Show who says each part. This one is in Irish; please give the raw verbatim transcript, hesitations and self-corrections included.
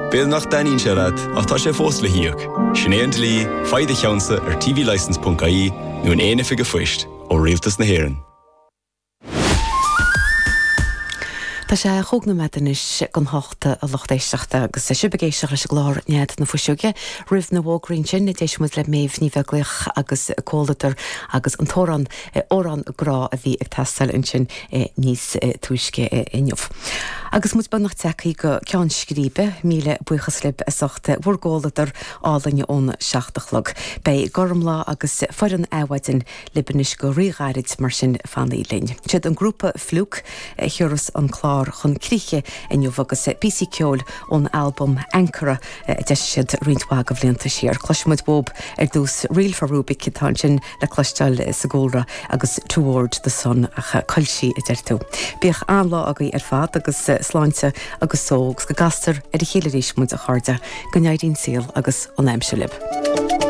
Speaker 1: B'fhéidir nach dtaitníonn sé leat ach tá sé fós le híoc. Sin é an dlí, faigh do cheannsa ar tvlicence.ie nó in aon oifig phoist ó Rialtas na hÉireann.
Speaker 2: Tá sé chúig nóiméad anois don hocht a lucht éisteachta agus sibh ag éisteacht leis an gclár Nead na Fuiseoige. Roimh na bhfógraí ansin, d'éist muid le Méabh Ní Bheaglaoich agus Comhluadar agus an t-amhrán Amhrán Grá a bhí ag teastáil ansin níos túisce inniu. Agus muid beagnach tagtha go ceann scríbe, míle buíochas libh as ucht bhur gcomhluadar álainn ón seacht a chlog. Beidh Gormlaith agus foireann Adhmhaidin libh anois go ríghairid mar sin fanaigí linn. Siad an grúpa Fluke a thiúrfas an clár chun críche inniu agus píosaí ceoil ón albam Ankara a d'eisigh siad roinnt mhaith de bhlianta siar. Cloisfimid uathub ar dtús Reel for Rubik atá ansin le cloisteáil sa gcúlra agus Toward the Sun ach coilsí a deir tú. Bíodh an-lá agaibh ar fad agus sláinte agus só agus go gcastar ar a chéile arís muid a chairde, go n-éirí an saol agus an aimsir libh.